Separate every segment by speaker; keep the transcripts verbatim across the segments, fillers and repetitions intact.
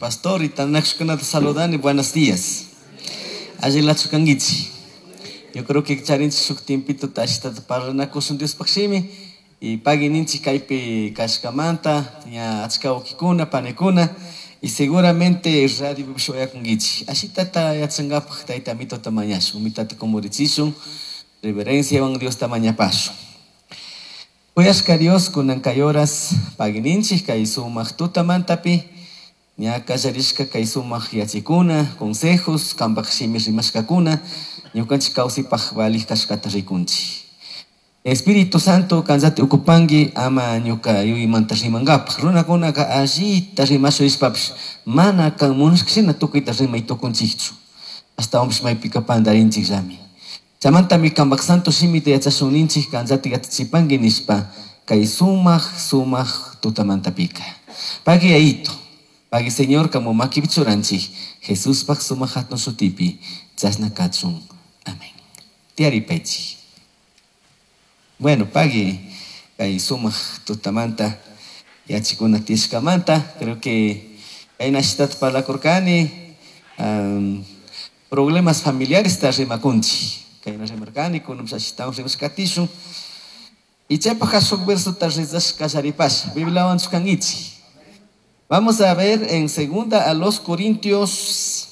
Speaker 1: Pastor y tanakushkunata saludani, buenos días. Allilachu kankichik. Yo creo que charinchik shuk tiempito ashitata parlanakushun Diospaq shimi y pagui ninchik kaypi kashkamanta ña achka wawkikuna panikuna y seguramente radiopipish uyakunkichik. Ashitata yachankapaq tayta Amitota mañashun, umitata kumurichishun, reverenciawan Diosta mañapashun. Kuyashka Dios kunan kay horas pagui ninchik kay sumaq tutamantapi ña kallarishka kay sumaq yachikuna, consejos, kanpak shimi rimashkakuna, ñukanchik kawsaypaq valij kashkata rikunchik. Espíritu Santo kanllati ukupanki ama ñuka yuyaymanta rimankapaq. Runakunaka allita rimasha nishpapish mana kan munashka shina tukuyta rimay tukunchikchu. Ashtawanpish maypika pantarinchikllami. Chaymantami kanpak santo shimita yachashun ninchik kanllati yachachipanki nishpa kay sumaq sumaq tutamantapika. Pagui Yayito, pagui Señor kamu makipi churanchik Jesuspak sumaq hatun shutipi chashna kachun. Amén. Tiyaripaychik. Bueno, pagui kay sumaq tutamanta yachikuna tiyashkamanta, creo que kayna ashitata parlakurkani, um, problemas familiares ta rimakunchik. Kayna rimarkani, kunanpish ashitawan rimashka katishun. Y chaypaq shuk versota rezashka kallaripasha. Bibliawanchu kankichik. Vamos a ver en segunda a los Corintios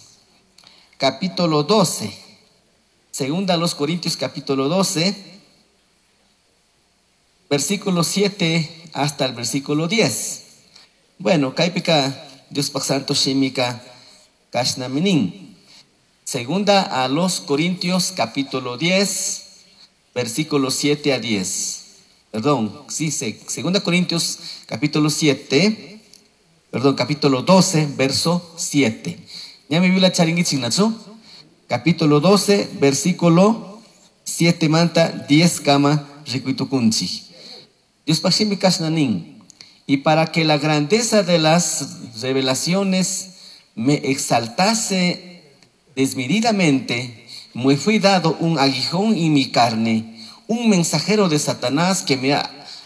Speaker 1: capítulo doce. Segunda a los Corintios capítulo doce, versículo siete hasta el versículo diez. Bueno, kaypika Diospaq Santo shimika kashnami nin. Segunda a los Corintios capítulo diez, versículo siete a diez. Perdón, sí, segunda Corintios capítulo siete, perdón, capítulo doce, verso siete. ¿Ya me Biblia charingichik nachu? Capítulo doce, versículo siete manta diez kama rikuitukunchik. Diospaq shimi kashna nin. Y para que la grandeza de las revelaciones me exaltase desmedidamente, me fui dado un aguijón en mi carne, un mensajero de Satanás que me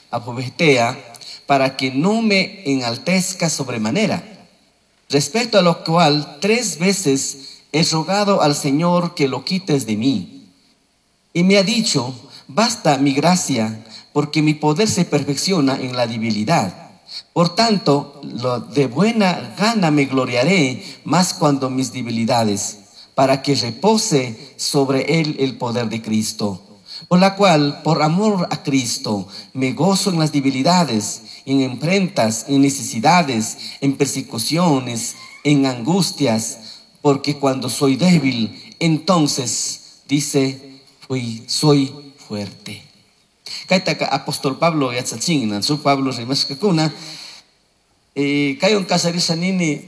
Speaker 1: abofetea, para que no me enaltezca sobremanera. Respecto a lo cual, tres veces he rogado al Señor que lo quites de mí. Y me ha dicho, basta mi gracia, porque mi poder se perfecciona en la debilidad. Por tanto, lo de buena gana me gloriaré más cuando mis debilidades, para que repose sobre él el poder de Cristo. Por la cual, por amor a Cristo, me gozo en las debilidades, en imprensas, en necesidades, en persecuciones, en angustias, porque cuando soy débil, entonces, dice, fui, soy fuerte. Kaytaka apóstol Pablo yachachin, nachu Pablo rimashkakuna, eh, kaywan kasarisha nini,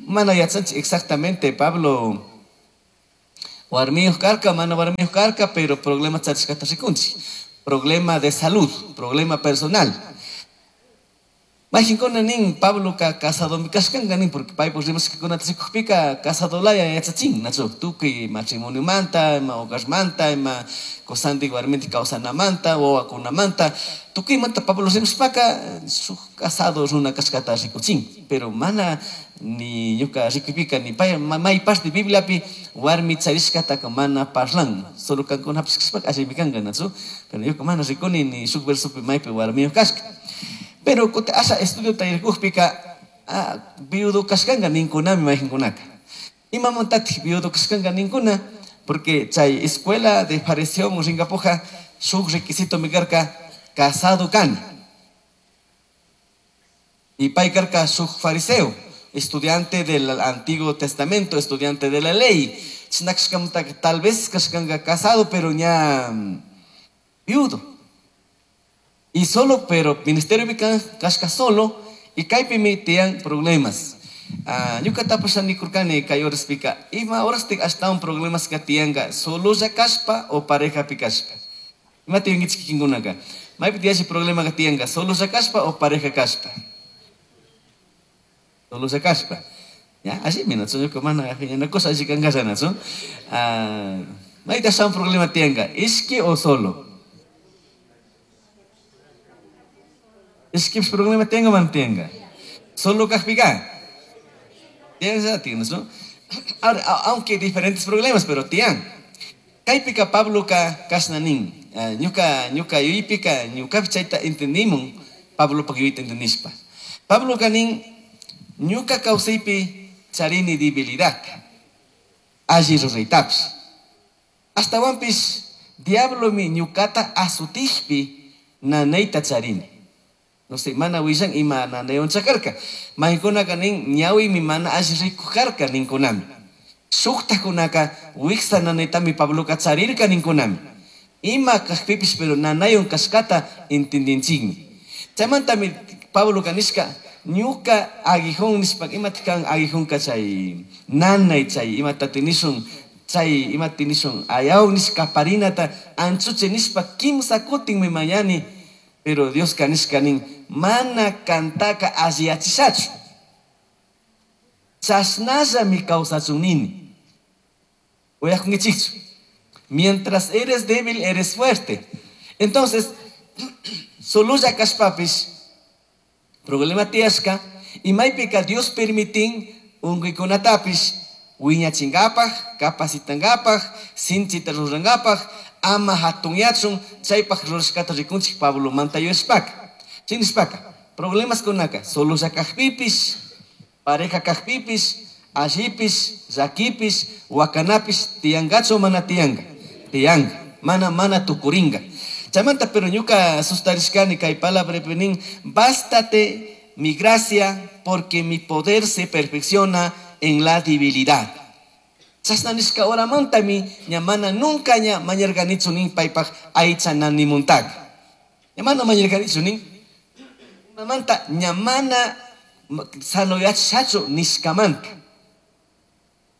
Speaker 1: mana yachanchik exactamente Pablo warmiyuq karka, mana warmiyuq karka, pero problema charishkata rikunchik. Problema de salud, problema personal. Mayqinkuna nin Pablo ka casadomi kashkanka nin, porque paypuk rimashkakunata rikukpika casadolaya yachachin, nachu tukuy matrimoniomanta, ima hogarmanta, ima kusantik warmintik kawsanamanta, wawakunamanta, tukuymanta Pablo rimashpaka shuk casado runa kashkata rikuchin, pero mana ni ñuka rikuypika ni pay may parte Bibliapi warmi charishkataka mana parlan, solo kankunapish kashpaka allimi kanka, nachu, pero ñuka mana rikuni ni shuk versopi maypi warmiyuq kashka. Pero kutin asha estudio tayrikukpika, ah, viudo kashkanka ninkunami mayqinkunaka. Imamantatik viudo kashkanka ninkuna, porque chay escuela de fariseo rinkapuja shuk requisito mi karka casado kana. Y pay karka shuk fariseo, estudiante del Antiguo Testamento, estudiante de la ley. Chinakashkamanta tal vez kashkanka casado, pero ña viudo. Y solo, pero ministerio kashka solo, y kaypimi tiyan problemas. Ah, ñuka tapasha nikurkani kay horaspika, ima horastik ashtawan problemas ka tiyanka, sololla kashpa o parejapi kashpa. Ima tiyankichik kikinkunaka? Maypi tiyashi problema ka tiyanka, sololla kashpa o pareja kashpa. Sololla kashpa. Ya, allimi, nachu, ñuka mana phiñanakusha alli kankalla, nachu. Ah, mayta ashtawan problema tiyanka, ishki o solo. Ishkipish problema tiyanka, mana tiyanka. Solo kajpika. Tiyan, ¿no? Ahora, aunque diferentes problemas, pero tiyan. Kaypika Pabloka kashna nin, ñuka ñuka yuypika ñukapi chayta entendimun, Pablopaj yuyta entendishpa. Pabloka nin, ñuka kawsaypi charini debilidad, alli ruraytapish. Ashtawanpish diablomi ñukata azutishpi nanayta charini. No sé, mana willan ima nanaywan chakarka. Maykunaka nin, ñawimi mana alli rikuj karka ninkunami. Shuktakunaka wiksa nanaytami Pabloka charirka ninkunami. Ima kajpipish pero nanaywan kashkata entendinchikmi. Chaymantami Pabloka nishka, ñuka aguijón nishpa, imata kan aguijonka chay nanay chay imata tinishun, chay imata tinishun, ayaw nishka parinata anchuche nishpa kimsa kutinmi mañani, pero Dioska nishka nin, mana kantaka alliyachishachu. Chashnallami kawsachun nini. Uyakunkichikchu. Mientras eres débil, eres fuerte. Entonces, sololla kashpapish, problema tiyashka, y maypika Dios permitin unkuykunatapish wiñachinkapaj, capacitankapaj, sinchita rurankapaj, ama hatunyachun, chaypaj rurashkata rikunchik Pablo manta yuyashpaka. Chay nishpaka, problemas kunaka, sololla kajpipish, pareja kajpipish, allipish, llakipish, wakanapish, tiyangachu mana tiyanka, tiyanka, mana mana tukurinka. Chaymanta pero ñuka sustarishkani kay palabra nin, bástate mi gracia porque mi poder se perfecciona en la debilidad. Chashna nishka horamantami ña mana nunca ña mañarganichu nin paypaj aycha nanimuntaka. Ña mana mañarganichu nin. Imamanta ña mana sanoyachishachu nishkamanta.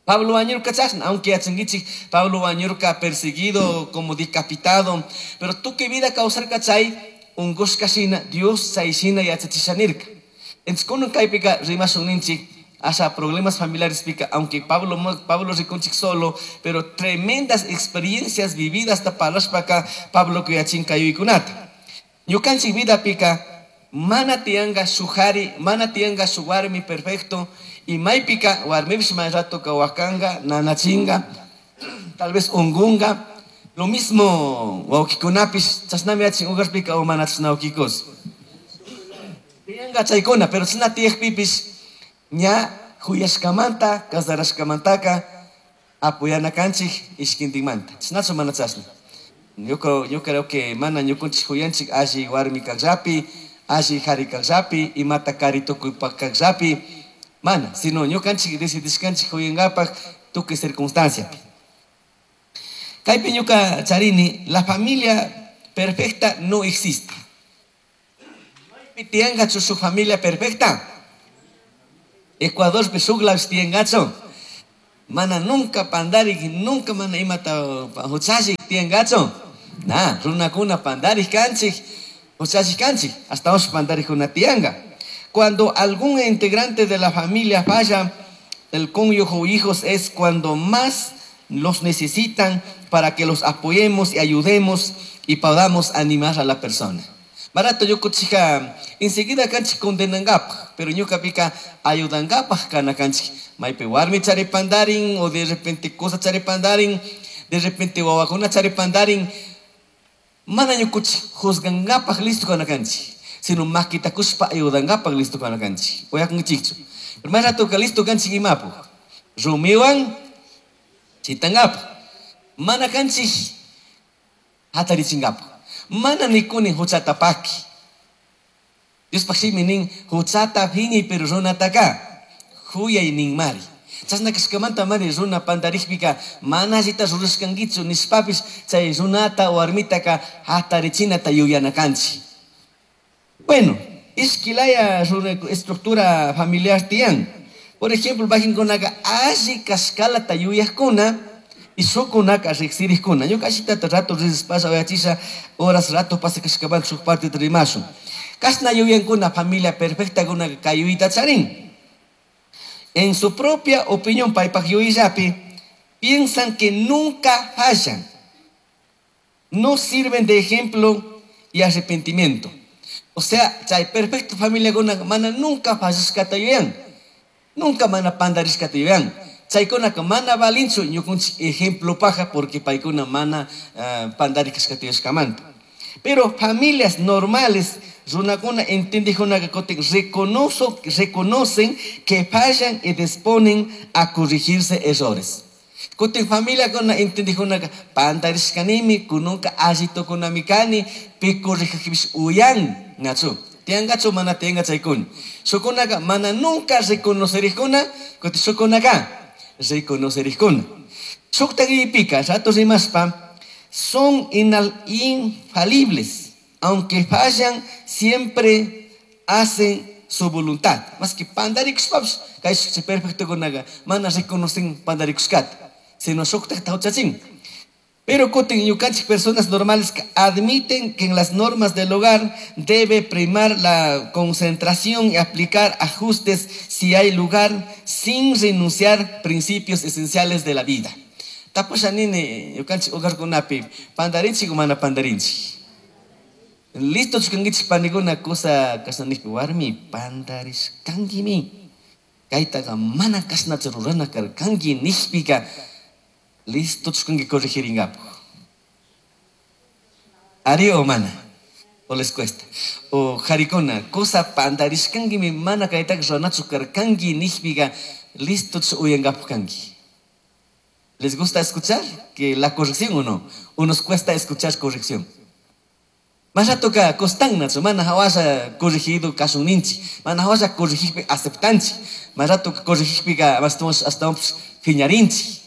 Speaker 1: Pablo wañurka chashna, aunque yachankichik, Pablo wañurka perseguido, como decapitado, pero tukuy vida kawsarka chay unkushka shina, Dios chay shina yachachisha nirka. Entonces, kunan kaypika rimashun ninchik, haya problemas familiares pica, aunque Pablo, Pablo rikunchik solo, pero tremendas experiencias vividas hasta palashpaka Pablo kuyachin kayuykunata. Ñukanchik vida pica, mana tianga sujari, mana tianga su warmi perfecto, y maypika warmipish may rato ka wakanga, nanachinga, tal vez ungunga, lo mismo wawkikunapish, chashnami yachin ugarpika o mana chashna wawkikos. Tianga chaykuna, pero chashna tiyakpipish, ña huyashkamanta, casarashkamantaka, apoyana kanchik ishkintinmanta. Chashnachu mana chashna. Yo creo, yo creo que mana ñukunchik huyanchik alli warmi kaqllapi, alli jari kaqllapi, imata kari tukuypak kaqllapi, mana, sino ñukanchik decidishkanchik huyankapak tukuy circunstanciapi. Kaypi ñuka charini, la familia perfecta no existe. Maypi tiyankachu shuk familia perfecta? Ecuadorpi shuk lawpi tiyankachu? Mana nunca pandarik, nunca mana imata huchallik tiyankachu? Na, runakuna pandarik kanchik, huchallik kanchik, hasta hoy pandarikuna tiyanka. Cuando algún integrante de la familia falla, el cónyuge o hijos es cuando más los necesitan para que los apoyemos y ayudemos y podamos animar a la persona. Barato yo kuchika, enseguida kanchik condenangapaj, pero ñuka pika ayudangapaj kana kanchik. Maypi warmi charipandarin, o de repente cosa charipandarin, de repente wawakuna charipandarin, mana ñukuchik juzgangapaj listo kana kanchik, sino makitakushpa ayudangapaj listo kana kanchik. Uyakunkichikchu. Pero más rato ka listo kanchik imapu. Rumiwan chitangapaj. Mana kanchik hatarichingapaj. Mana nikuni huchata paki. Diospaj shimi nin huchata phiñay pero runataka huyay nin mari. Chashna kashkamanta mari runa pantarikpika mana allita rurashkankichu nishpapish chay runata warmitaka hatarichinata yuyana kanchik. Bueno, ishkilaya runa estructura familiar tiyan. Por ejemplo, wakinkunaka alli kashkalata yuyajkuna y shukunaka riksirikkuna. Ñuka allitata rato rispasha uyachisha horas rato pasa kashkamanta shuk parte rimashun. Kashna yuyankuna familia perfecta kuna kay yuyta charin. En su propia opinión, paypak yuyayllapi, piensan que nunca fallan. No sirven de ejemplo y arrepentimiento. O sea, chay perfecto familia kuna mana nunca fallashkata yuyan. Nunca mana pandarishkata yuyan. Chaykunaka mana valinchu ñukunchik ejemplo paja porque paykuna mana uh, pandarishkata yuyashkamanta. Pero familias normales, runakuna entendijkunaka kutin reconozo, reconocen que fallan y disponen a corregirse errores. Kutin familiakuna entendijkunaka pandarishkanimi, kununka alli tukunami kani, pi corregijpish uyan, nachu. Tiangachu mana tianga chaykuna. Shukunaka mana nunca reconocerijkuna, kutin shukunaka reconocerijkuna. Shukta rato rimaspa, son infalibles, aunque fallan, siempre hacen su voluntad. Más que pandarikushpapish, kay perfectokunaga, mana reconocen pandarikushkata, sino shuktakta huchachin. Pero kutin ñukanchik personas normales que admiten que en las normas del hogar debe primar la concentración y aplicar ajustes si hay lugar, sin renunciar principios esenciales de la vida. Tapusha nini ñukanchik hogarkunapi pandarinchik o mana pandarinchik. Listo kankichik panikuna kusa kashna warmi pandarishkankimi. Kaytaqa mana kashnachu rurana karkanki nishpika listo kanki corregiringapuk. Ari o mana? O les cuesta. O jarikuna kusa pandarishkankimi mana kaytaqa ruranachu karkanki nishpika listo uyankapuk kanki. ¿Les gusta escuchar que la corrección o no? ¿O nos cuesta escuchar corrección? Más rato ka costan mana hawasha corregido kashun ninchik, mana hawasha corregijpi aceptanchik, más rato ka corregijpika hasta phiñarinchik,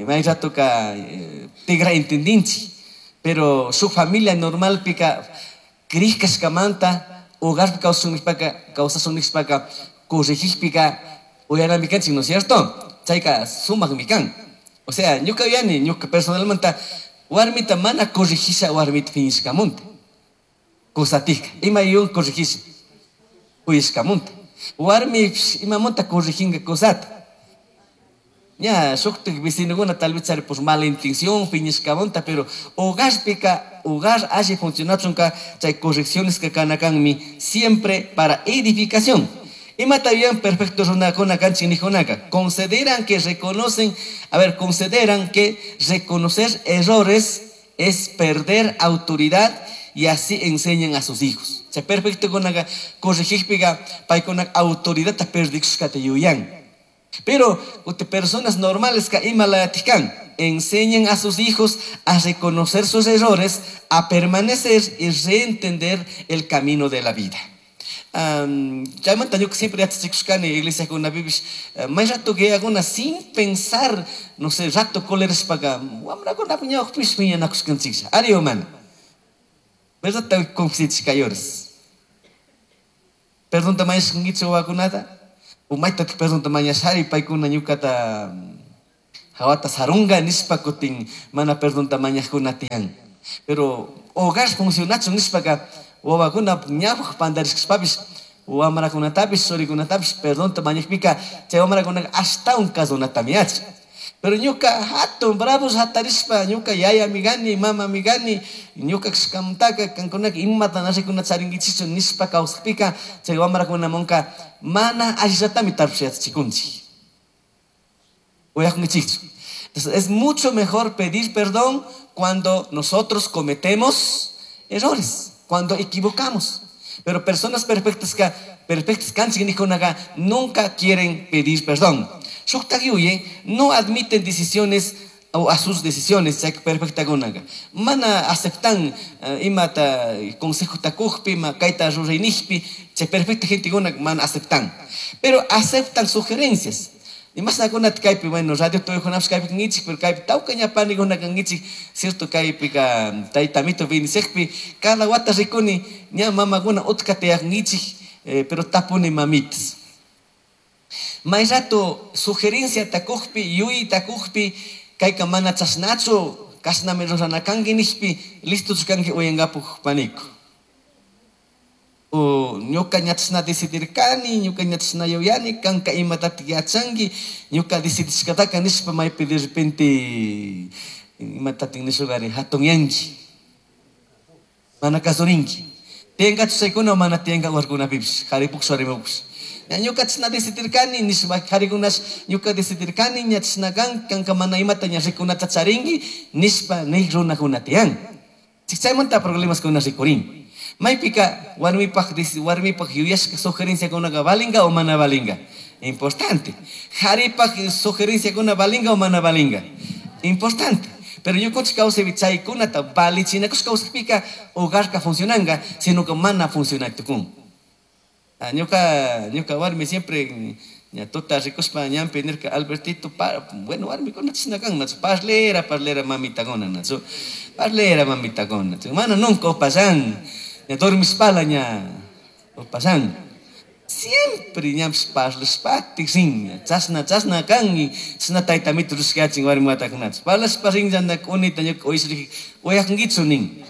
Speaker 1: más rato ka tigra entendinchik, pero su familia normal pika krij kashkamanta hogar kawsashun kawsashun nishpaka corregijpika uyanami kanchik, ¿no es cierto? Chayka sumakmi kan. O sea, ñuka yuyani, ñuka personalmente warmita mana corregisha warmita phiñashkamunta. Kusatika, ima yun corregisha uyashkamunta. Warmi imamunta corrijinga kusata. Ña, shuktik vecinokuna tal vez chari por mala intención phiñashkamunta, pero hogarpika, hogar alli funcionachunka, chay correcciones que kanakanmi siempre para edificación. Imata bien perfecto runakuna kanchik nijunaka. Consideran que reconocen, a ver, consideran que reconocer errores es perder autoridad y así enseñan a sus hijos. O sea, perfecto kunaka corregijpiga paykuna autoridad ta perdikushkata yuyan. Pero personas normales ka imalatikan enseñan a sus hijos a reconocer sus errores, a permanecer y reentender el camino de la vida. Um, chaymanta ñuka siempre yachachikushkani iglesiakunapipish may rato que sin pensar, no sé, rato colerashpaka wamrakunapak ñawpakpish phiñanakushkanchiklla. Ari o mana? ¿Verdad? Confesichikayores. Perdonta mañashkankichik wawakunata? O maytatik perdonta mañashari paykuna ñukata hawata sarunga nishpa kutin mana perdonta mañajkuna tiyan. Pero hogar funcionachun nishpaka wawakuna ñawpak pandarishkashpapish wamrakunatapish churikunatapish perdonta mañajpika chay wamrakunaka ashtawan kasunatami yachan. Pero ñuka hatun bravos hatarishpa ñuka yayami kani mamami kani ñuka kashkamantaka kankunaka imata nashikuna charinkichikchu nishpa kawsakpika chay wamrakunamanka mana allishatami tarpush yachachikunchik. Uyakunkichikchu. Entonces es mucho mejor pedir perdón cuando nosotros cometemos errores, cuando equivocamos. Pero personas perfectas que perfectas kanchik nijkunaka nunca quieren pedir perdón. Shuktak yuye no admiten decisiones o a sus decisiones, chay perfectakunaka. Mana aceptan uh, imata consejo takujpi, ma kayta ruraynijpi, chay perfecta gentekuna mana aceptan. Pero aceptan sugerencias. Y más nakunata kaypi, bueno, radio tuykunapish kaypi kankichik, pero kaypi tawka ña panikuna kankichik, cierto kaypika taytamito bendicekpi, cada wata rikuni ña mamakuna utka tiyakunkichik, eh, pero tapuni mamitas. May rato sugerencia takujpi, yuyi takujpi, kayka mana chashnachu, kashnami rurana kanki nishpi, listochu kanki uyankapuk paniku. O ñuka ña chashna decidirkani, ñuka ña chashna yuyani, kanka imatatik yachanki, ñuka decidishkataka nishpa maypi de repente imatatik nishugari hatunyanki, mana kasurinki. Tiyankachu chaykuna o mana tiyanka warkunapipish, karipuksh warmipush. Ñuka chashna decidirkani nishpa jarikunash ñuka decidirkani ña chashna kan kanka mana imata ña rikunata charinki nishpa nik runakuna tiyan. Chaymanta problemaskuna rikurin. Maypika warmipaj warmipaj yuyashka sugerenciakunaka valinga o mana valinga. Importante. Jaripaj sugerenciakuna valinga o mana valinga. Importante. Pero ñukanchik kawsaypi chaykunata valichinakush kawsakpika hogarka funcionanga, sino que mana funcionay tukun. Ñuka ñuka warmi siempre ña tuta rikushpa ñanpi nirka Albertito, pa, bueno warmikuna chashna kan, nachu parlera, parlera mamitakuna, nachu parlera mamitakuna, mana nunca upallan, ña dormishpala ña upallan. Siempre ñapish parlashpatik rin, chashna chashna kan, chashna taytamito rushkachin warmi watakunachu. Parlashpa rinllana k'unita ñuka uyashrijika uyakunkichu nin.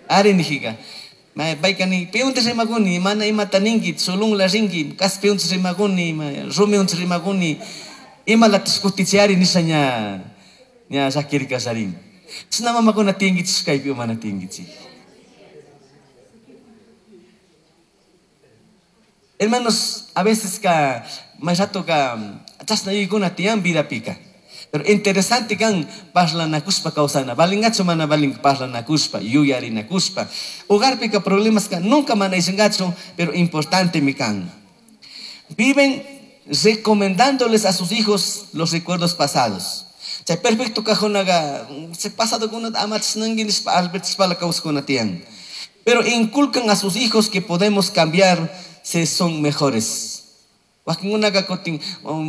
Speaker 1: Ari nijika. Payka nin, piunta rimakuni, mana imata ninki, sulunla rinki, kaspiunta rimakuni, rumiunta rimakuni, imalatash kutichiyari nisha ña ña llakirka sharin. Chashna mamakuna tiyankichik kaypi o mana tiyankichik. Hermanos, a veces ka may rato ka chashna yuyaykuna tiyan vidapika. Pero interesante kan parlanakushpa kawsana. Valingachu mana valin parlanakushpa, yuyarinakushpa. Hogarpika problemas ka nunca mana ishingachu, pero importante mi kan. Viven recomendándoles a sus hijos los recuerdos pasados. Chay perfecto kajunaga, se pasado kuna amachnangi nishpa albertishpala kawsakuna tiyan. Pero inculcan a sus hijos que podemos cambiar si son mejores. Wakinkunaka kutin,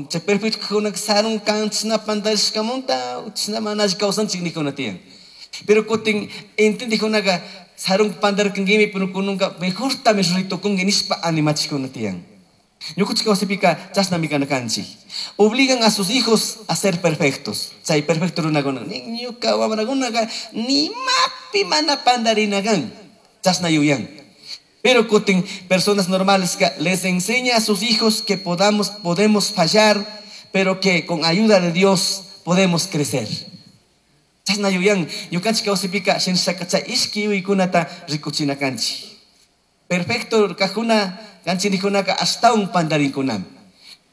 Speaker 1: chay perfecto kajunaka sarun kan chashna pandarishkamunta, chashna mana alli kawsanchik nijkuna tiyan. Pero kutin entendijkunaka sarun pandarkankimi, pero kununka mejortami ruraytukunki nishpa animachikuna tiyan. Ñukanchik kawsaypika chashnami kana kanchik. Obligan a sus hijos a ser perfectos. Chay perfecto runakuna, ñuka wamrakunaka nimapi mana pandarina kan. Chashna yuyan. Pero kutin personas normales que les enseña a sus hijos que podamos, podemos fallar, pero que con ayuda de Dios podemos crecer. Chashna yuyan, ñukanchik kawsaypika shinashaka chay ishki yuyaykunata rikuchina kanchik. Perfecto kajuna kanchik nijkunaka ashtawan pandarinkunami.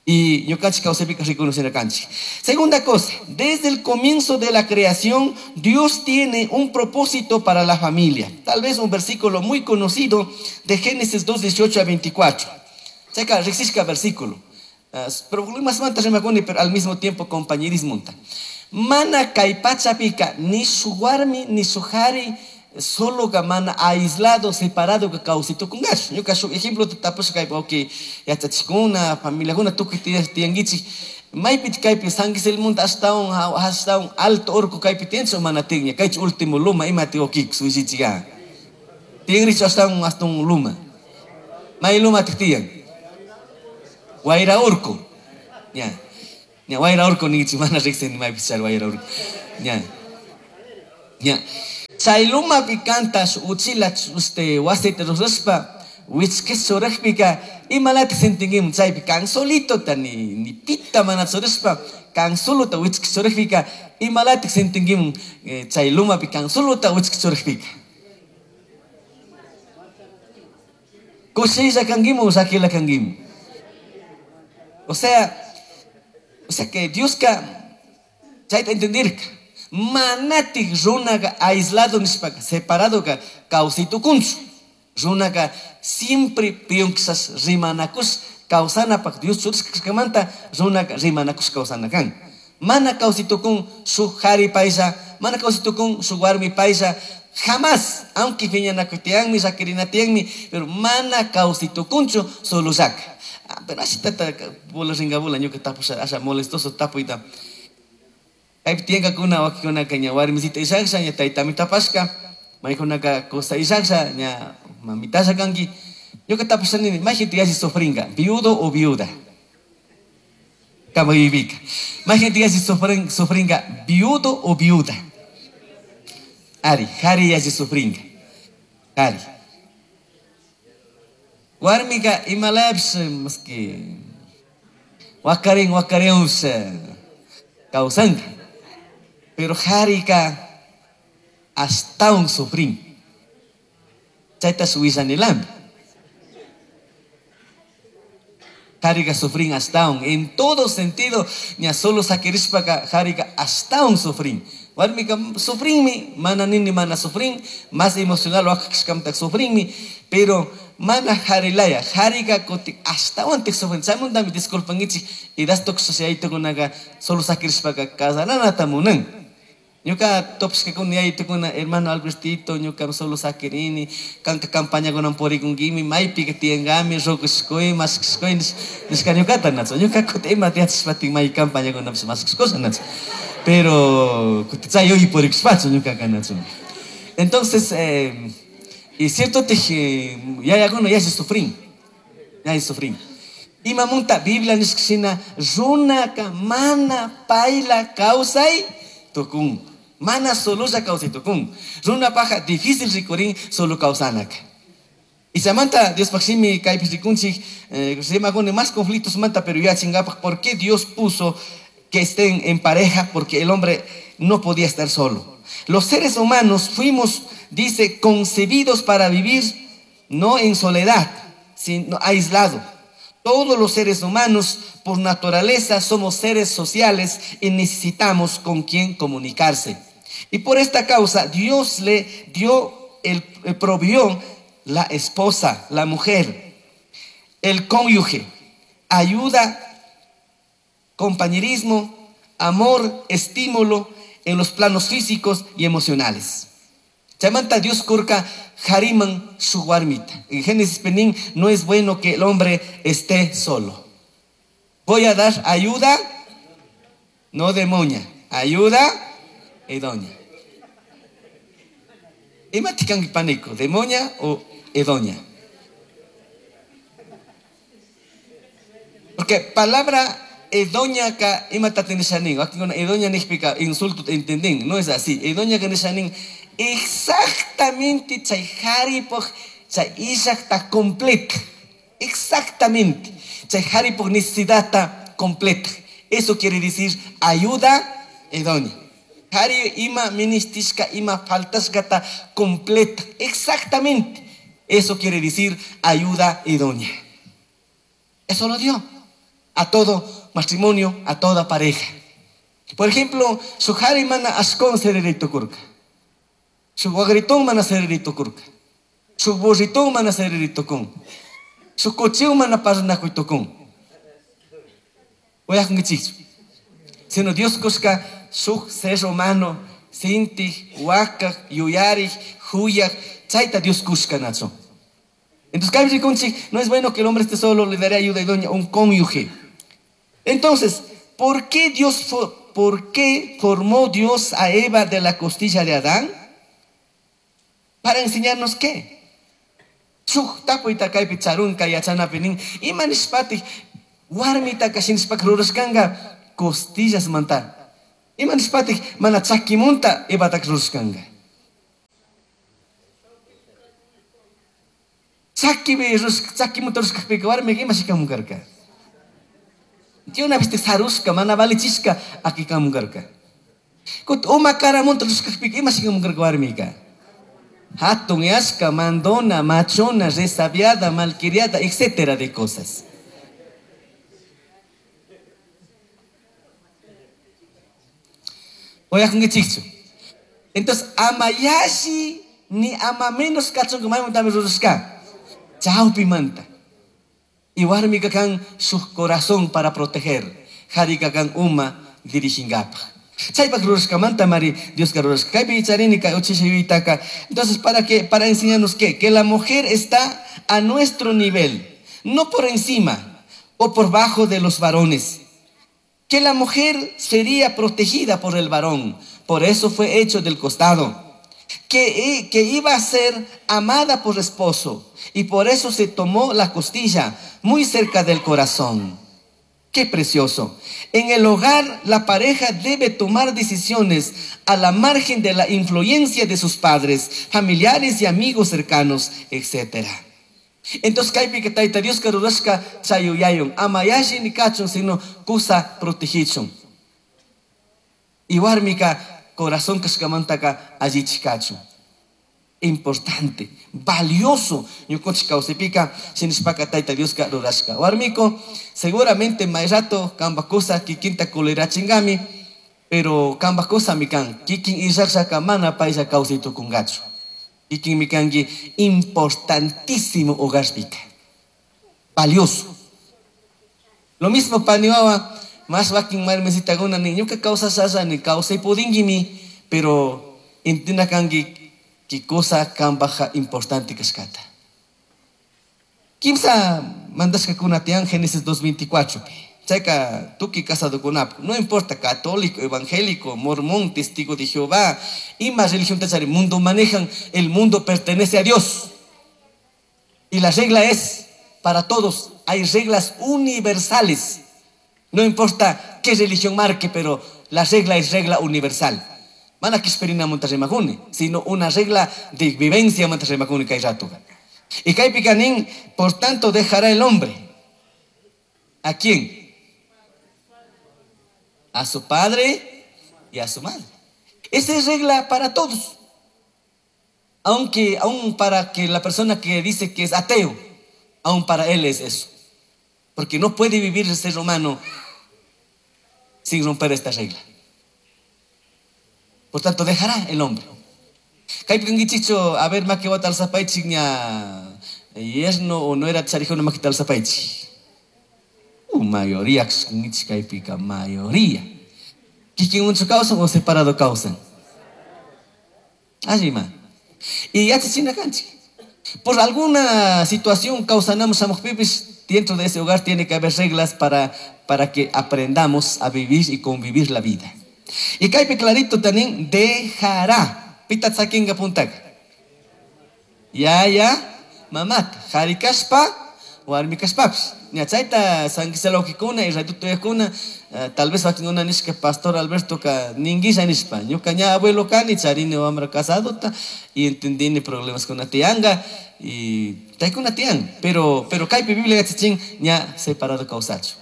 Speaker 1: Y ñukanchik kawsaypika reconocina kanchik. Segunda cosa, desde el comienzo de la creación, Dios tiene un propósito para la familia. Tal vez un versículo muy conocido de Génesis dos, dieciocho a veinticuatro. Checa, riksishka versículo. Problemas manta rimakuni, pero al mismo tiempo compañerismo. Mana kay pachapika, ni su warmi, ni su jari, solo ka mana aislado, separado ka kawsaytukungachu. Ñuka shuk ejemplo tapusha kaypi, ok, yachachikuna, familiakuna tukuy tiyankichik. Maypi kaypi San Gisel-manta ashtawan, ashtawan alto orco kaypi tiyanchu mana tiyanña, kaychu último luma ima tiyokikus wishichika. Tiyanrichu ashtawan ashtawan luma. May luma tik tiyan. Wayra orco. Ña. Ña wayra orco ninkichik mana riqsini maypi char wayra orco. Ña. Ña. Chay lumapi kantash uchila este wasita rurashpa wichkis churajpika imalata sentinkimun chaypi kan solitota ni ni pita mana churashpa kan solota wichkis churajpika imalata sentinkimun chay lumapi kan solota wichkis churajpika. Kushilla kankimun llakilla kankimun. O sea, o sea que Dioska chayta entendirka. Manatik runaka aislado nishpaka, separado ka kawsaytukunchu. Runaka siempre piyunkisas rimanakush kawsanapak Dios churashkamanta runaka rimanakush kawsana kan. Mana kawsaytukun shuk jari paylla, mana kawsaytukun shuk warmi paylla, jamás, aunque piñanakutiyanmi, llakirinatiyanmi, pero mana kawsaytukunchu solo llaka. Ah, pero así tata bola ringa bola ñuka tapusha asha molestoso tapuyta. Kaypi tiyankakuna wakikunaka ña warmisita ishaksha ña taytami tapashka, maykunaka cosa ishaksha ña mamitasha kanki. Ñuka tapusha nini, mayjinta yalli sufringa, viudo o viuda. Kamayvika. Mayjinta yalli sufrin, sufringa, viudo o viuda. Ari, jari yalli sufringa. Jari. Warmika imalapish maski wakarin wakariunsh kawsanka. Pero jarika ashtawan sufrin. Chayta suwillanilam. Jariga sufrin ashtawan en todo sentido, ña solo sakirishpaka jariga ashtawan sufrin. Warmika sufrinmi, mana nini mana sufrin, más emocional wakashkamta sufrinmi, pero mana jarilaya, jariga kutin ashtawan tik sufrin. Chaymantami disculpankichik, y das tukushayaytukunaqa solo sakirishpaka casaranata munan. Ñuka topashkakuna yaytukuna, hermano Albertito, ñuka solo sakirini, kanka campañakunan purikunkimi, maypika tiyankami, rukashkuy, mashkashkuy, nishka ñukata nachu. Ñuka kutin ima tiyachishpatin may campañakunapish mashkashkusha nachu. Pero kutin chay yuyi purikushpachu ñukaka nachu. Entonces, eh, y cierto tij yayakuna yalli sufrin, yalli sufrin. Imamunta Biblia nishkashina runaka mana payla kawsay tukun. Mana sololla kawsay tukun. Runa paja difícil rikurin solo kawsanaka. Y samanta Diospaj shimi kaypi rikunchik, eh, rimakuni más conflictos manta, pero ya chingapaj, ¿por qué Dios puso que estén en pareja? Porque el hombre no podía estar solo. Los seres humanos fuimos, dice, concebidos para vivir no en soledad, sino aislado. Todos los seres humanos, por naturaleza, somos seres sociales y necesitamos con quien comunicarse. Y por esta causa, Dios le dio, el, el provió la esposa, la mujer, el cónyuge, ayuda, compañerismo, amor, estímulo en los planos físicos y emocionales. Chaymanta Dios kurka hariman su warmita. En Génesis Penín, no es bueno que el hombre esté solo. Voy a dar ayuda, no de moña, ayuda idónea. Imatikan pánico, de moña o idónea. Porque palabra idónea ka imatatenishanin, aquí con idónea significa insulto, entendín, no es así. Idónea que nishanin exactamente chay haripoj chay illajta completa. Exactamente. Chay haripoj necesidad completa. Eso quiere decir ayuda idónea. Hari ima ministishka ima faltashkata completa. Exactamente. Eso quiere decir ayuda idónea. Eso lo dio a todo matrimonio, a toda pareja. Por ejemplo, su hari mana ashkon sererito kurka. Su guagritón mana sererito kurka. Su burritón mana sererito kun. Su cocheo mana parnakuito kun. Voy a sino Dios kuska su ser humano, sinti, huaca, yuyari, huyak, chaita Dios kuska nacho. Entonces, kaypi rikunchik, no es bueno que el hombre esté solo, le daré ayuda idónea, un cónyuge. Entonces, ¿por qué Dios, por qué formó Dios a Eva de la costilla de Adán? Para enseñarnos qué. Shuk tapuyta kaypi charunka yachanapi nin, ima nishpatik warmitaka shinishpaka rurashkanka costillas manta. Ima nishpatik mana chakimunta Evataka rurashkanka. Chakipi chakimunta rurashkakpika warmika ima shikamunkarka. Una vez te sarushka mana valichishka akikamunkarka. Kut uma karamunta rurashkakpika ima shikamunkarka warmika. Hatun yashka, mandona, machona, resabiada, malcriada, etcétera de cosas. Entonces, amayashi ni ama menos kachun maymuntami rurashka. Chawpimanta. Y warmika kan su corazón para proteger. Harika kan uma dirigingapa. Chaypak rurashkamanta mari Dios ka rurashka. Kaypi charini kay uchishayuytaka. Entonces, ¿para qué? Para enseñarnos qué? Que la mujer está a nuestro nivel, no por encima o por bajo de los varones. Que la mujer sería protegida por el varón, por eso fue hecho del costado. Que, que iba a ser amada por esposo y por eso se tomó la costilla muy cerca del corazón. ¡Qué precioso! En el hogar, la pareja debe tomar decisiones a la margen de la influencia de sus padres, familiares y amigos cercanos, etcétera. Entonces, kaypi que tayta Dios karurashka chayuyayun, ama yashi ni kachun, sino kusa protegichun. Y warmika corazón kashkamantaka allichikachun. Importante, valioso. Ñukunchik kawsaypika shinashpaka Tayta Dioska rurashka. Warmiko, seguramente may rato kamba kusa kikinta kulerachingami, pero kamba kusami kan kikin illaqllaka mana paylla kawsay tukunkachu. Kikinmi kanki importantísimo hogarpika. Valioso. Lo mismo paniwawa, más wakin marmesitakuna ni ñuka kawsashalla ni kawsay pudinguimi, pero intina kanki ki cosa kambaja importante kashkata. Kimsa mandashkakuna tiyan Génesis dos veinticuatro. Chayka tuki casadokunap, no importa católico, evangélico, mormón, testigo de Jehová, ima religión tachari, mundo manejan, el mundo pertenece a Dios. Y la regla es para todos, hay reglas universales. No importa qué religión marque, pero la regla es regla universal. Mana kisperina montarremajune, sino una regla de vivencia montarremajune kay ratuga. Y kay picanín, por tanto dejará el hombre. ¿A quién? A su padre y a su madre. Esa es regla para todos. Aunque aún para que la persona que dice que es ateo, aún para él es eso. Porque no puede vivir el ser humano sin romper esta regla. Por tanto, dejará el hombre. Kaypikankichikchu, a ver, maki wata alzapaychik ña yerno o no era charijuna maki alzapaychik. Uh, mayoría, kaypika, mayoría. Kikin unchu kawsan o separado kawsan. Allima. Y yachachina kanchik. Por alguna situación causanamos shamuqpipis, dentro de ese hogar tiene que haber reglas para, para que aprendamos a vivir y convivir la vida. Y kaypi clarito también dejará. Pita tsakinga puntaka. Ya ya mamata harikashpa warmikashpapis. Ña chayta sanquisalawkikuna y ratutuyakuna, tal vez wakinkuna nishka pastor Alberto ka ninguisha nishpa. Ñuka ña abuelo kani charini wamra casadota y entendini problemas kuna tiyanga y taykuna tiyan. Pero pero kaypi Biblia yachachin ña separado kawsachu.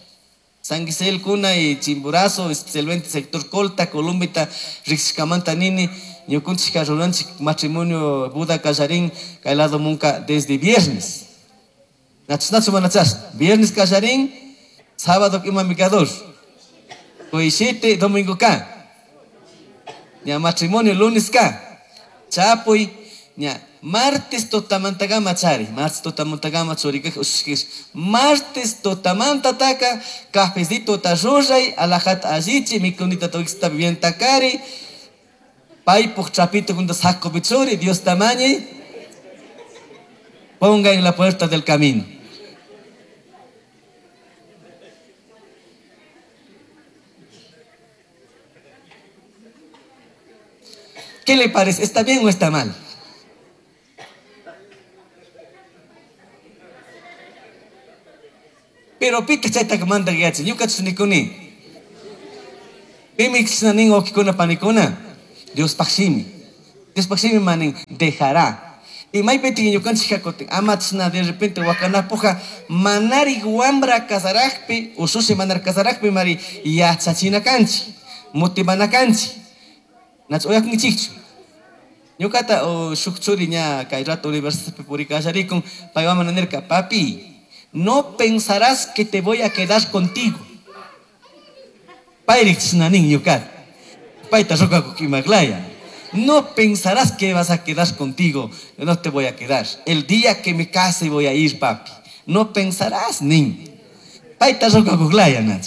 Speaker 1: Sanguisel kuna y Chimborazo, especialmente sector Colta, Columbita, Rixcamanta nini, ñukunchik ruranchik matrimonio Buda Kallarín, kaylado munka desde viernes. Nachnachu manachas, viernes Kallarín, sábado imamikador. Koishite, domingo ka. Ña matrimonio lunes ka. Chapuy, ña martes totamantagama chari, martes totamantagama churikaj ushkish, martes totamantataka, cafecito tarruray, alajat allichi, mikunita toixta bien takari, paipuj chapito junto saco bichuri, Dios tamañi, ponga en la puerta del camino. ¿Qué le parece? ¿Está bien o está mal? Pero pita chayta manda yachi, ñuka chunikuni. Pimi nin okikuna panikuna. Dios pakshimi. Dios pakshimi manin dejará. Y maypiti ñukanchik hakutin, amachna de repente wakanapuja manari wambra kasarajpi, usushi manar kasarajpi mari yachachina kanchi, motivana kanchi. Nach oyakunkichikchu. Ñukata o shuk churi ña kay rato universidadpi purikasharikun, paywaman nirka, papi, no pensarás que te voy a quedar contigo. Payrich nanin ñukat. Payta rokakukimaklaya. No pensarás que vas a quedar contigo. No te voy a quedar. El día que me case voy a ir, papi. No pensarás, nin. Payta rokakuklaya, nach.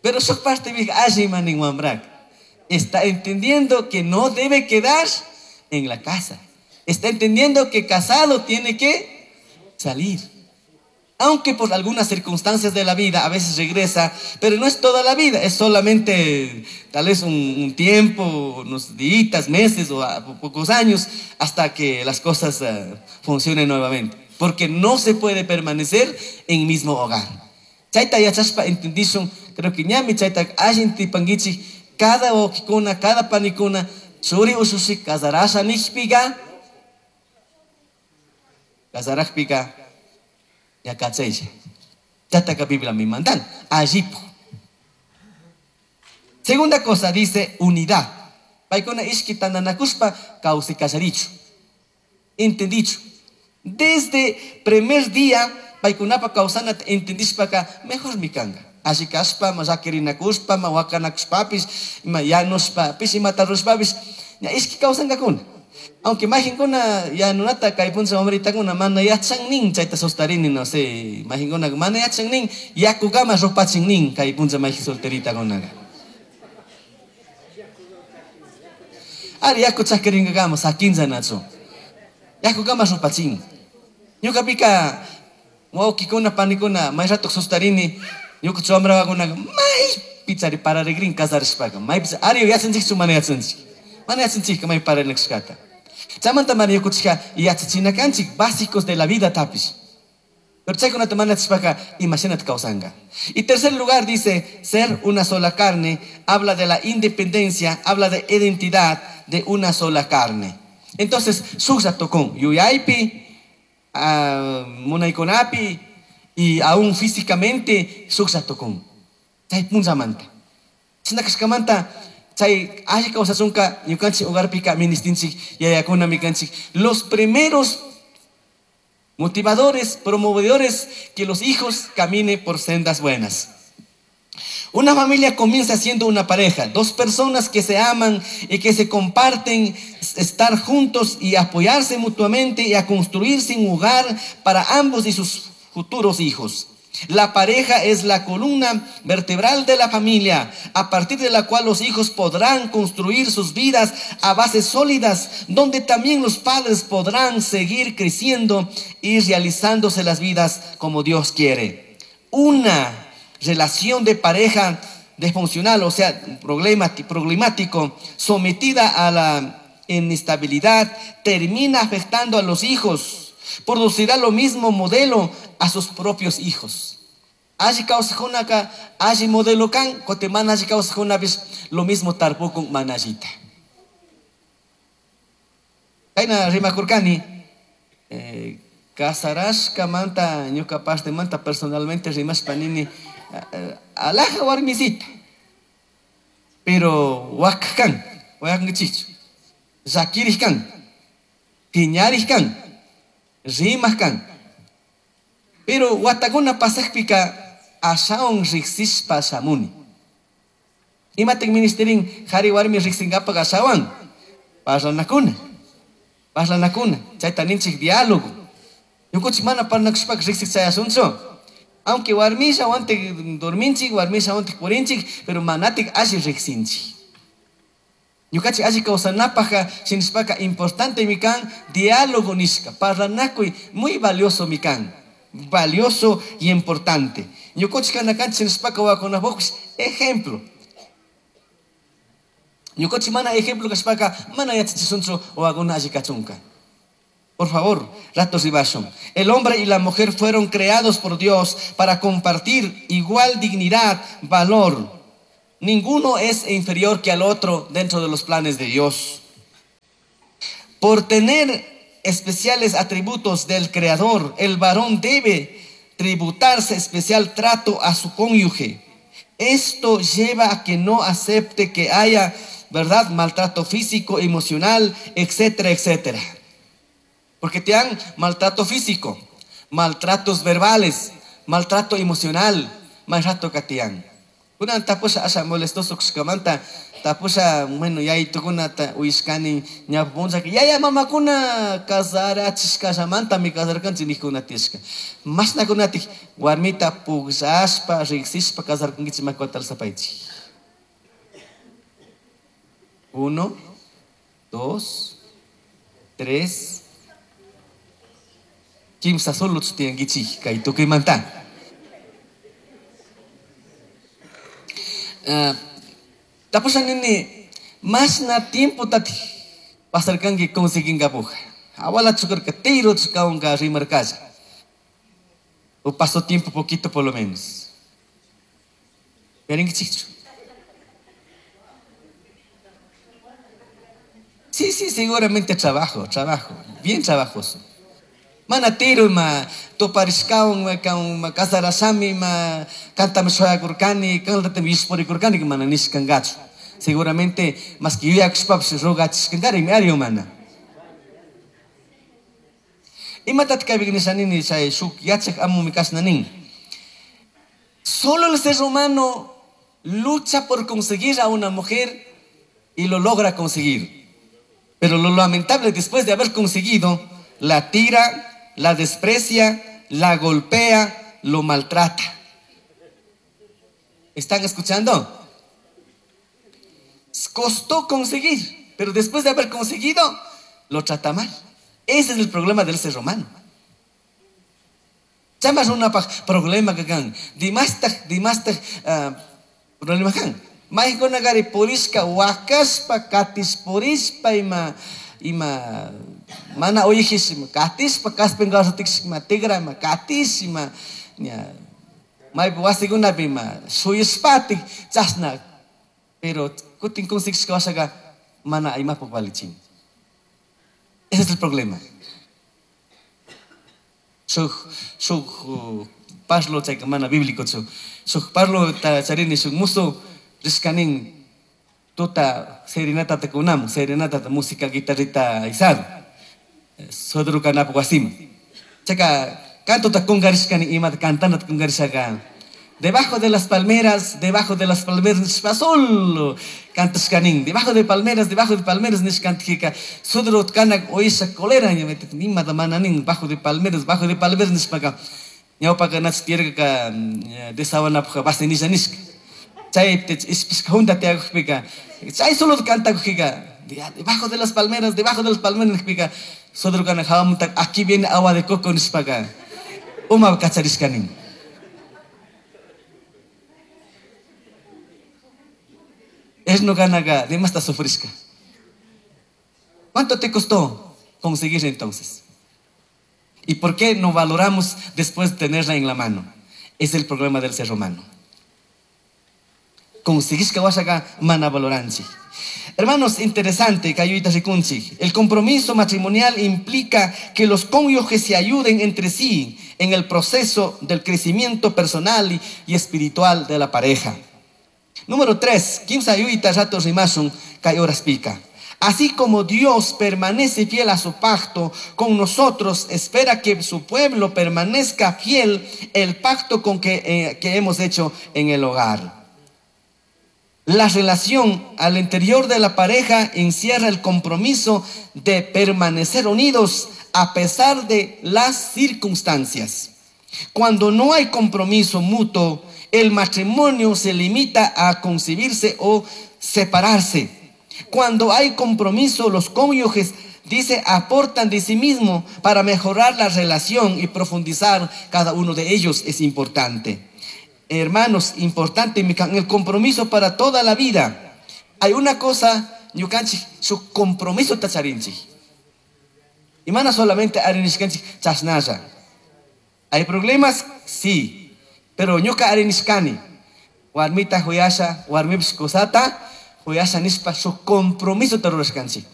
Speaker 1: Pero su parte mi alli manin wambrak. Está entendiendo que no debe quedar en la casa. Está entendiendo que casado tiene que salir. Aunque por algunas circunstancias de la vida a veces regresa, pero no es toda la vida, es solamente tal vez un, un tiempo, unos días, meses o a, pocos años, hasta que las cosas uh, funcionen nuevamente. Porque no se puede permanecer en mismo hogar. Chayta yachashpa entendishun, creo que ñami chayta allin tipanguichi, cada okikuna, cada panikuna, churi usushi casarasha nishpiga, casarajpiga, yakachaylla. Chataka Biblia mi mandan, allipo. Segunda cosa dice unidad. Paykuna ishki tandanakushpa kawsay kallarichu. Entendichu. Desde primer día paykunapa kawsanata entendishpaka mejormi kanka. Alli kashpa, ma llakirinakushpa, ma wakanakushpapish, ima yanushpapish, imata rurashpapish, ña ishki kawsankakuna. Aunque mayqinkuna yanunata kay puncha wamritakuna mana yachan nin chayta sustarini, no sé, mayqinkuna mana yachan nin yakukama rupachin nin kay puncha mayqin solteritakunaka. Ari yaku chakirinkakama sakinchanachu. Yakukama rupachin. Ñuqapika wawqikuna panikuna may rato sustarini ñuqa wamrawakunaka maypi chari pararikrin casarishpaka maypi ari yachanchikchu mana yachanchik. Mana yachanchikka may pararikshkata. Chaymanta mana ñuqanchikka yachachina kanchik básicos de la vida tapish. Pero chaykunata mana yachashpaka imashinata kawsanka. Y tercer lugar dice, ser una sola carne, habla de la independencia, habla de identidad de una sola carne. Entonces, shuklla tukun yuyaypi, uh, munaykunapi y aún físicamente shuklla tukun. Chay punchamanta. Chashna kashkamanta chay alli kawsachunka ñukanchik hogarpika ministinchik yayakuna mikanchik. Los primeros motivadores, promovedores que los hijos caminen por sendas buenas. Una familia comienza siendo una pareja, dos personas que se aman y que se comparten, estar juntos y apoyarse mutuamente y a construirse un hogar para ambos y sus futuros hijos. La pareja es la columna vertebral de la familia, a partir de la cual los hijos podrán construir sus vidas a bases sólidas, donde también los padres podrán seguir creciendo y realizándose las vidas como Dios quiere. Una relación de pareja disfuncional, o sea, problemático, sometida a la inestabilidad, termina afectando a los hijos. Producirá lo mismo modelo a sus propios hijos. Alli kawsajkunaka alli modelo kan, kutin mana alli kawsajkunapish lo mismo tarpukun mana allita. Kayna rimakurkani, eh, casarashkamanta ñuka partemanta personalmente rimashpa nini alaja warmisita, pero wakaj kan, wakankichikchu, llakirij kan, piñarij kan, rimaj kan. Pero watakuna pasajpika ashawan riqsishpa shamuni. Imatik ministerin qhari warmi riqsinkapak ashawan parlanakuna, parlanakuna, chayta ninchik diálogo. Ñukanchik mana parlanakushpaka riqsik chayasunchu. Aunque warmisha wantik dorminchik, warmisha wantik purinchik, pero manatik alli riqsinchik. Ñukanchik alli kawsanapajka shinashpaka importante mi kan diálogo nishka, parlanakuy muy valioso mi kan. Valioso y importante. Ñukanchik kanakanchik shinashpaka wawakunapukpish ejemplo. Ñukanchik mana ejemplo kashpaka mana yachachisunchu wawakuna alli kachunka. Por favor, ratos ribashun. El hombre y la mujer fueron creados por Dios para compartir igual dignidad, valor. Ninguno es inferior que al otro dentro de los planes de Dios. Por tener especiales atributos del Creador, el varón debe tributarse especial trato a su cónyuge. Esto lleva a que no acepte que haya, ¿verdad?, maltrato físico, emocional, etcétera, etcétera. Porque te dan maltrato físico, maltratos verbales, maltrato emocional, maltrato que te dan. Kuna tapusha asha molestoso kushkamanta, tapusha, bueno, yaytukuna uyishkani ñapupunchaka, yaya mamakuna casarachishkashamanta mi casarkanchik nijkuna tiyashka. Mashnakunatik warmita pukllashpa, riqsishpa casarkankichik makiwata alzapaychik. Uno, dos, tres, kimsa solo tiyankichik kay tukuymanta. Uh, tapusha nini mashna tiempo tati pasarkanki conseguinkapuja. Awala chukarka tiro chukawanka rimarkalla. O pasó tiempo poquito por lo menos. Yarinkichikchu. Sí, sí, seguramente trabajo, trabajo, bien trabajoso. Mana tiro ma toparishkawan ma kan ma kasarashami ma kantami shuyakurkani, kantatami yushpurikurkani mana nishkankachu. Seguramente más que yuyakushpapish rogachishkankari ari mana. Imatat kaypi nishanini chay shuk yachak amumi kashna nin. Solo el ser humano lucha por conseguir a una mujer y lo logra conseguir. Pero lo lamentable, después de haber conseguido, la tira, la desprecia, la golpea, lo maltrata. ¿Están escuchando? Costó conseguir, pero después de haber conseguido, lo trata mal. Ese es el problema del ser humano. Chamas una problema que kan, dimastag, dimastag problema kan. Maykunagari purishka wakashpa katis purishpa ima ima mana oyijish ima katishpa kaspin ima tigra ima katish ima ña maypi wasikunapi ima shuyashpatik chashna, pero kutin conseguishka washaqa mana imapaq valichin. Ese es el problema. Shuk shuk parlo chayka mana bíblico chu shuk parlo ta charini shuk musu rishkanin tuta serenata ta kunam serenata ta música guitarrita isado sodru kanap wasim chayka canto ta kungarishkani ima cantando ta kungarishaka debajo de las palmeras, debajo de las palmeras nishpa solo cantashkanin, debajo de palmeras, debajo de palmeras nishkantijika sodru kanak oisha colera imata mananin bajo de palmeras, bajo de palmeras nishpaka ñawpaka nach tierka desawanapaj base nisha nishka chay ispishka junta tiakujpika chay solo cantakujika debajo de las palmeras, debajo de las palmeras nishpika sodru kanak hawamuntak aquí viene agua de coco nishpaka uma kacharishkanin. Es no ganaga, de más sufrisca. ¿Cuánto te costó conseguir entonces? ¿Y por qué no valoramos después de tenerla en la mano? Es el problema del ser humano. Conseguís que washaga mana valoranchi. Hermanos, interesante, kayuita rikunchi. El compromiso matrimonial implica que los cónyuges se ayuden entre sí en el proceso del crecimiento personal y, y espiritual de la pareja. Número tres, kimsa yuyta rato rimasun kay horas pica. Así como Dios permanece fiel a su pacto con nosotros, espera que su pueblo permanezca fiel el pacto con que, eh, que hemos hecho en el hogar. La relación al interior de la pareja encierra el compromiso de permanecer unidos a pesar de las circunstancias. Cuando no hay compromiso mutuo, el matrimonio se limita a concebirse o separarse. Cuando hay compromiso, los cónyuges, dice, aportan de sí mismo para mejorar la relación y profundizar cada uno de ellos es importante. Hermanos, importante el compromiso para toda la vida. Hay una cosa, ñukanchik, su compromiso tacharinchik. Y mana solamente arinishkanchik chasnalla. ¿Hay problemas? Sí. Pero ñuka arinishkani, warmita huyasha, warmipish kusata, huyasha nishpa su compromiso tarurashkanchik.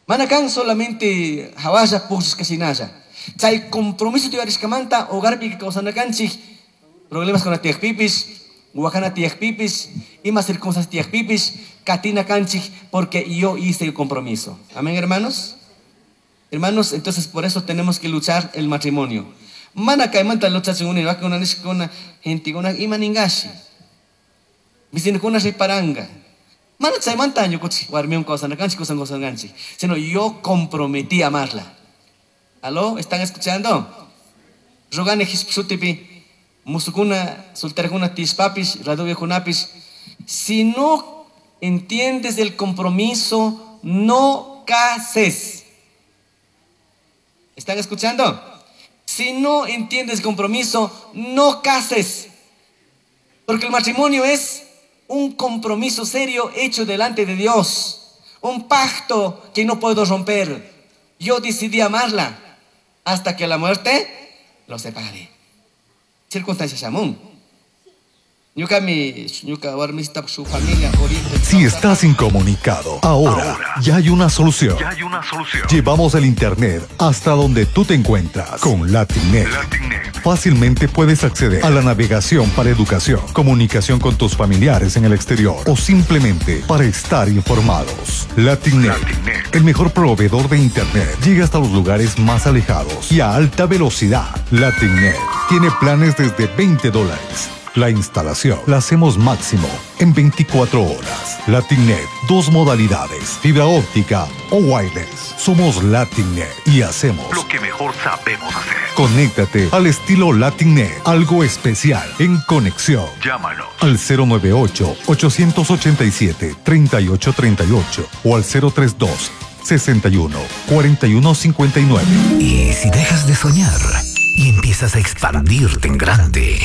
Speaker 1: Mana kan solamente hawasha pukshishkashinalla. Chay compromiso tiyarishkamanta hogarpi kawsanakanchik, problemas con la tiyakpipis, wakana tiyakpipis, ima circunstancias tiyakpipis, katina kanchik, porque yo hice el compromiso. Amén, hermanos. Hermanos, entonces por eso tenemos que luchar el matrimonio. Mana kaymanta luchachun uni wakuna nishkuna gentekuna ima ningashi. Vecinkuna riparanga. Mana chaymanta ñukuchik warmiwan kawsanakanchik, kusan kawsanakanchik. Sino yo comprometí a amarla. ¿Aló? ¿Están escuchando? Rogani hispsutipi, musukuna, solterakuna tishpapis, raduviakunapis. Si no entiendes el compromiso, no cases. ¿Están escuchando? Si no entiendes compromiso, no cases. Porque el matrimonio es un compromiso serio hecho delante de Dios. Un pacto que no puedo romper. Yo decidí amarla hasta que la muerte lo separe. Circunstancias aún. Ñucami, ñuca warmista su familia Oriente.
Speaker 2: Si estás incomunicado, ahora, ya hay una solución.
Speaker 3: Ya hay una solución.
Speaker 2: Llevamos el internet hasta donde tú te encuentras con LatinNet.
Speaker 3: LatinNet.
Speaker 2: Fácilmente puedes acceder a la navegación para educación, comunicación con tus familiares en el exterior o simplemente para estar informados. LatinNet,
Speaker 3: LatinNet.
Speaker 2: el mejor proveedor de internet, llega hasta los lugares más alejados y a alta velocidad. LatinNet tiene planes desde veinte dólares. La instalación la hacemos máximo en veinticuatro horas. LatinNet, dos modalidades, fibra óptica o wireless. Somos LatinNet y hacemos
Speaker 3: lo que mejor sabemos hacer.
Speaker 2: Conéctate al estilo LatinNet, algo especial en conexión.
Speaker 3: Llámanos
Speaker 2: al cero nueve ocho, ochocientos ochenta y siete, treinta y ocho treinta y ocho o al cero tres dos, sesenta y uno, cuarenta y uno cincuenta y nueve.
Speaker 4: Y si dejas de soñar y empiezas a expandirte en grande,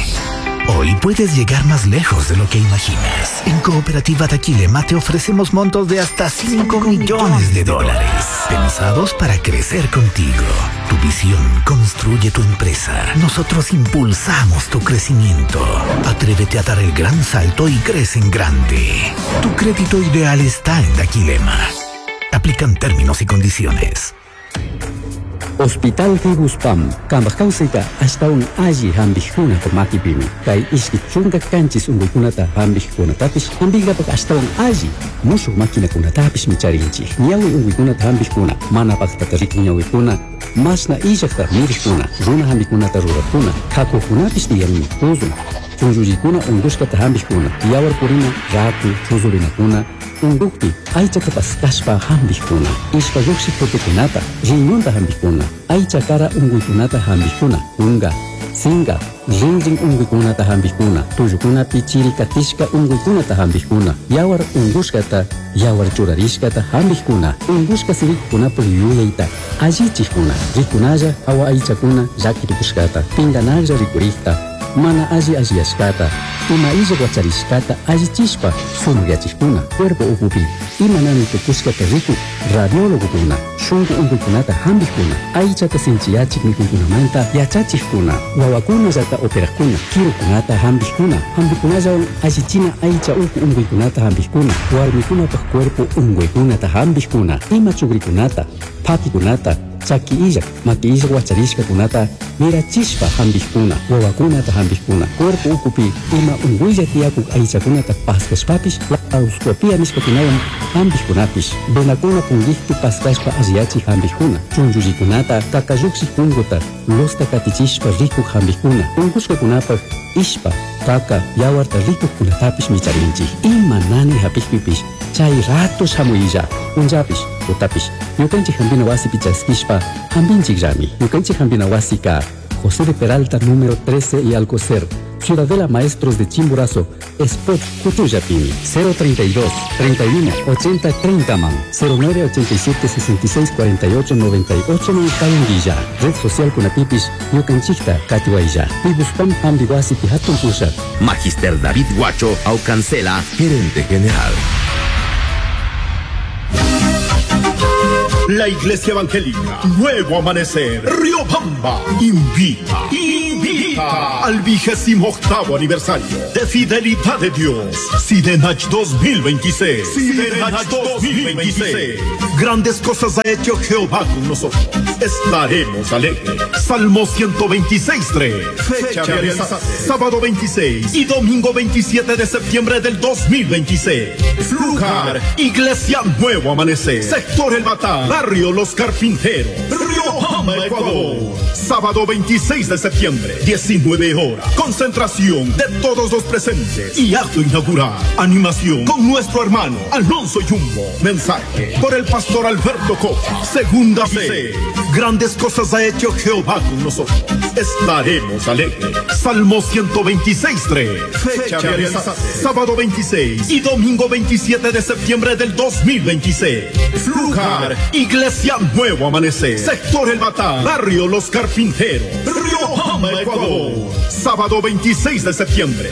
Speaker 4: hoy puedes llegar más lejos de lo que imaginas. En Cooperativa Daquilema te ofrecemos montos de hasta cinco millones de dólares, pensados para crecer contigo. Tu visión construye tu empresa. Nosotros impulsamos tu crecimiento. Atrévete a dar el gran salto y crece en grande. Tu crédito ideal está en Daquilema. Aplican términos y condiciones.
Speaker 5: Hospital Fibuspam, kambaj kawsayta ashtawan alli hampikkunata makipimi. Kay ishki chunka kanchis unkuykunata hampikkunatapish hampinkapak ashtawan alli mushuk maquinakunatapish micharinchik. Ñawi unkuykunata hampikkuna, mana paktata rikun ñawikuna, mashna illakta mirikkuna, runa hampikunata rurakkuna, kakukunapish tiyanmi, kuzun, chunllullikuna unkushkata hampikkuna, yawar purina, raku, chuzurinakuna, unkukpi aychata paskashpa hampikkuna, ishpa lluqshik tutukunata, riñonta hampikkuna, aycha kara unkuykunata hampikkuna, kunka, sinka, rinrin unkuykunata hampikkuna, tullukunapi chiri katishka unkuykunata hampikkuna, yawar unkushkata, yawar churarishkata hampikkuna, unkushka sirikukunapuk yuyayta allichikkuna, rikunalla awa aychakuna llakitukushkata, pinkanaklla rikurikta, mana alli alliyashkata, ima illa wacharishkata allichishpa sumakyachikuna, cuerpo ukupi ima nani tukushkata rikuk radiólogokuna, shunku unkuykunata hampikkuna, aychata sinchiyachik mikuykunamanta yachachikkuna, wawakunallata operakkuna, kirukunata hampikkuna, hampikunallawan allichina aycha uku unkuykunata hampikkuna, warmikunapak cuerpo unkuykunata hampikkuna, ima chukrikunata, pakikunata, chaki illak, maki illak wacharishkakunata mirachishpa hampikkuna, wawakunata hampikkuna, cuerpo ukupi ima unkuylla tiyakuk aychakunata paskashpapish, laparoscopia nishkakunawan hampikkunapish, venakuna punkikpi paskashpa alliyachik hampikkuna, chunllullikunata, kakallukshik punkuta, losta katichishpa rikuk hampikkuna, unkushkakunapak ishpa, kaka, yawarta rikukkunatapish micharinchik. Ima nani hapikpipish, chay rato shamuylla, punllapish, tutapish, ñukanchik hampina wasipi chaskishpa hampinchikllami. Ñukanchik hampina wasika José de Peralta, número trece y Alcocer, Ciudadela Maestros de Chimborazo, Spot Cuchuyapimi, cero treinta y dos, treinta y uno, ochenta, treinta man, cero nueve ochenta y siete, sesenta y seis, cuarenta y ocho, noventa y ocho man, Cayanguilla, Red Social Kunapipis, Ñukanchikta, Katiwaya, Pibuspam Hambiwasi Pihatun Pusha.
Speaker 6: Magister David Guacho Aucancela, gerente general.
Speaker 7: La Iglesia Evangélica Nuevo Amanecer Riobamba invita, invita al vigésimo octavo aniversario de Fidelidad de Dios, Sidenach dos mil veintiséis. Sidenach dos mil veintiséis. Grandes cosas ha hecho Jehová con nosotros. Estaremos alegres. Salmo ciento veintiséis, tres. Fecha de realizarse, sábado veintiséis y domingo veintisiete de septiembre del dos mil veintiséis. Lugar, Iglesia Nuevo Amanecer, Sector El Batán, Barrio Los Carpinteros, Riobamba, Ecuador. Sábado veintiséis de septiembre, diecinueve horas. Concentración de todos los presentes y acto inaugural. Animación con nuestro hermano Alonso Jumbo. Mensaje por el pastor Alberto Copa. Segunda C. Grandes cosas ha hecho Jehová con nosotros. Estaremos alegres. Salmo ciento veintiséis, tres. Fecha de realizarse, sábado veintiséis y domingo veintisiete de septiembre del dos mil veintiséis. Lugar, Iglesia Nuevo Amanecer, Sector El Batán, Barrio Los Carpinteros, Riobamba, Ecuador. Sábado veintiséis de septiembre,